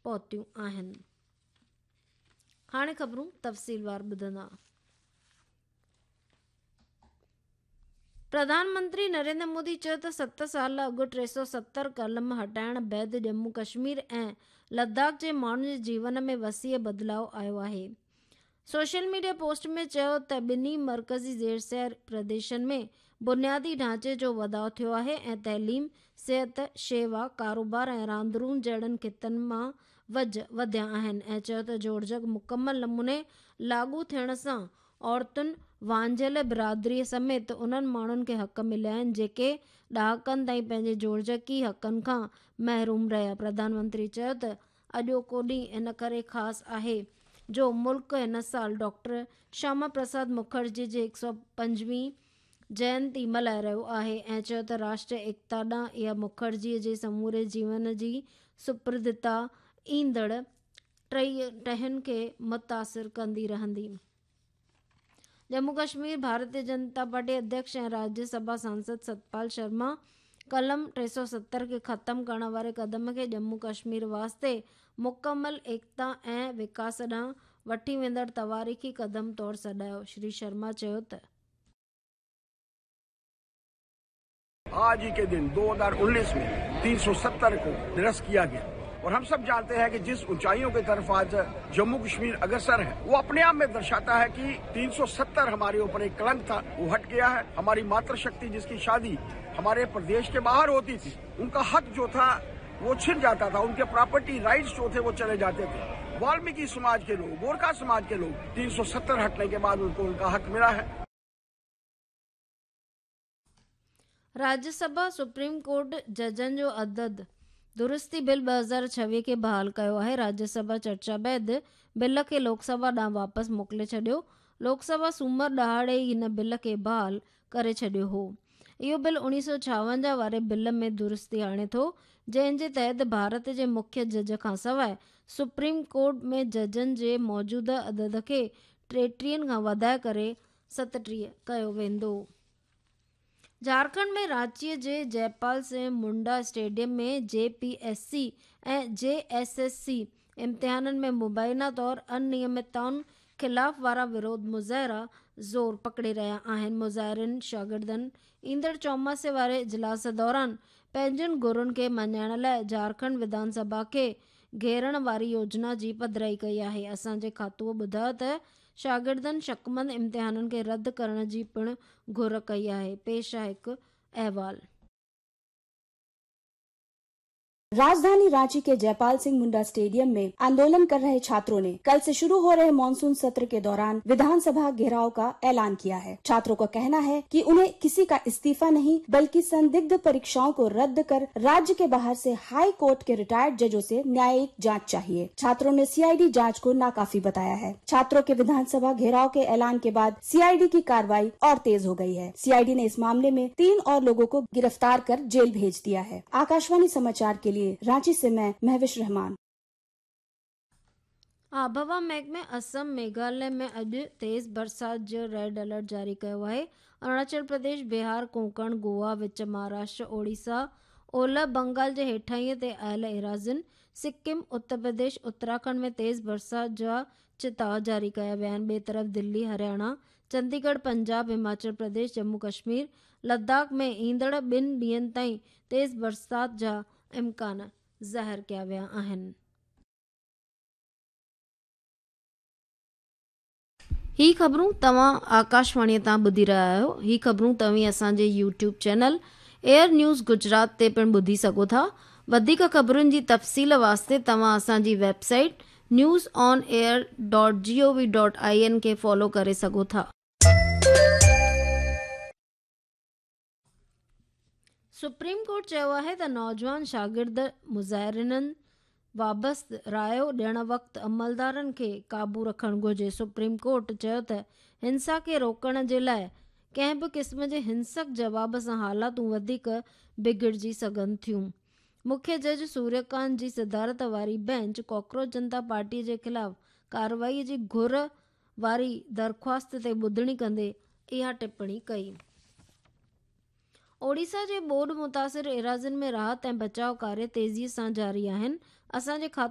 پهتيون آهن. هاڻي خبرون تفصيلوار ٻڌندا. پرڌان منتري نريندر مودي چيو ته ست سال اڳ 370 قلم هٽائڻ بعد ڄمون ڪشمير ۽ لداخ جي ماڻهن جي جيون ۾ وسيع بدلاء آيو آهي. سوشل ميڊيا پوسٽ ۾ چيو ته ٻنهي مرڪزي زيرسير پرديشن ۾ بنيادي ڍانچي جو وڌاء ٿيو آهي ۽ تعليم، صحت، شيوا، ڪاروبار ۽ راندرون جهڙن خطن مان وجهه وڌيا آهن ۽ چيو ته جوڙجڪ مڪمل نموني لاڳو ٿيڻ سان عورتن، وانجهيل برادريء سميت انهن ماڻهن کي حق مليا آهن جيڪي ڏهاڪن تائين پنهنجي جوڙجڪي حقن کان محروم رهيا. پرڌان منتري چيو ته اڄوڪو ڏينهن ان ڪري خاص آهي جو ملڪ هن سال ڊاڪٽر شياما پرساد مکرجي جي 125 جينتي ملهائي رهيو آهي ۽ چيو ته راشٽريه ايڪتا ڏانهن اها مکرجي جي سموري جيون جي سپردتا ايندڙ ٽهين کي متاثر ڪندي رهندي. ڄمون ڪشمير ڀارتيه جنتا پارٽي اڌيڪش ۽ راجيه سڀا سانسد ستپال شرما قلم 370 کي ختم ڪرڻ واري قدم کي ڄمون ڪشمير واسطي مڪمل ايڪتا ۽ وڪاس ڏانهن وٺي ويندڙ تواريخي قدم طور سڏايو. شري شرما چيو ته. आज ही के दिन 2019 में 370 को निरस्त किया गया और हम सब जानते हैं कि जिस ऊंचाइयों की तरफ आज जम्मू कश्मीर अग्रसर है वो अपने आप में दर्शाता है कि 370 हमारे ऊपर एक कलंक था, वो हट गया है। हमारी मातृशक्ति जिसकी शादी हमारे प्रदेश के बाहर होती थी, उनका हक जो था वो छिन जाता था, उनके प्रॉपर्टी राइट्स जो थे वो चले जाते थे। वाल्मीकि समाज के लोग, गोरखा समाज के लोग, 370 हटने के बाद उनको उनका हक मिला है। راجيه سڀا سپريم ڪورٽ ججن جو عدد درستي بل 2026 کي بحال ڪيو آهي. راجيه سڀا چرچا بعد بل کي لوڪ سڀا ڏانهن واپس موڪلي ڇڏيو. لوڪ سڀا سومر ڏهاڙي ئي هن بل کي بحال ڪري ڇڏيو هو. اهو بل 1956 واري بل ۾ درستي آڻي ٿو، جنهن جي تحت ڀارت جي مکيه جج کانسواء سپريم ڪورٽ ۾ ججن جي موجوده عدد کي 33 کان وڌائي ڪري 37 ڪيو ويندو. جهارکنڊ ۾ رانچيء جي Jaipal Singh Munda stadium ۾ J P S C ۽ J S S C امتحانن ۾ مبينا طور انيمتائن خلاف وارا وروڌ مظاهرا زور پڪڙي رهيا آهن. مظاهرين شاگردن ايندڙ چوماسي واري اجلاس دوران پنهنجن گهرن کي مڃائڻ لاء جهارکنڊ وڌان سڀا کي گهيرڻ واري يوجنا جي پڌرائي ڪئي آهي. اسان جي کاتوء ٻڌايو ته شاگردن شڪمند امتحانن کي رد ڪرڻ جي پڻ گهر ڪئي آهي. پيش آهي هڪ احوال. राजधानी रांची के जयपाल सिंह मुंडा स्टेडियम में आंदोलन कर रहे छात्रों ने कल से शुरू हो रहे मानसून सत्र के दौरान विधानसभा घेराव का ऐलान किया है। छात्रों का कहना है कि उन्हें किसी का इस्तीफा नहीं बल्कि संदिग्ध परीक्षाओं को रद्द कर राज्य के बाहर से हाई कोर्ट के रिटायर्ड जजों से न्यायिक जांच चाहिए। छात्रों ने सीआईडी जांच को नाकाफी बताया है। छात्रों के विधानसभा घेराव के ऐलान के बाद सीआईडी की कार्रवाई और तेज हो गई है। सीआईडी ने इस मामले में 3 और लोगों को गिरफ्तार कर जेल भेज दिया है। आकाशवाणी समाचार के लिए रांची से मैं महविश रहमान। आबहवा महڪمي اسم، ميگهاليه ۾ اڄ تيز برسات جو ريڊ الرٽ جاري ڪيو آهي. اروناچل پرديش، بهار، ڪونڪڻ، گوا، وچ مهاراشٽر، اوڙيسا، اولهه بنگال جي هيٺاهينء تي آيل ايراضين، سڪم، اتر پرديش، اتراکنڊ ۾ تيز برسات جا چتاء جاري ڪيا ويا آهن. ٻئي طرف دلي، هرياڻا، چنديڳڙهه، پنجاب، هماچل پرديش، ڄمون ڪشمير، لداخ ۾ ايندڙ ٻن ڏينهن تائين تيز برسات جا امڪان ظاهر ڪيا ويا آهن. هي خبرون توهان آڪاشواڻي تان ٻڌي رهيا آهيو. هي خبرون توهين اسان جي YouTube channel AIR news Gujarat تي پڻ ٻڌي سگهو ٿا. وڌيڪ خبرن جي تفصيل واسطي توهان اسان جي website news on air dot G O V dot I N کي فالو ڪري سگهو ٿا. سپريم ڪورٽ چيو آهي ته نوجوان شاگرد مظاهرين بابت رايو ڏيڻ وقت عملدارن کي قابو رکڻ گهرجي. سپريم ڪورٽ چيو ته هنسا کي روڪڻ جي لاء ڪنهن به قسم جي هنسڪ جواب سان حالاتون وڌيڪ بگڙجي سگهن ٿيون. مکيه جج سوريه ڪانت جي صدارت واري بينچ ڪاڪروچ جنتا پارٽي جي خلاف ڪارروائي جي گهر واري درخواست تي ٻڌڻي ڪندي اها ٽپڻي ڪئي. اوڙيسا جي ٻوڏ متاثر ايراضين ۾ راحت ۽ بچاء ڪاريه تيزي سان جاري آهن. اسان جي کاتو.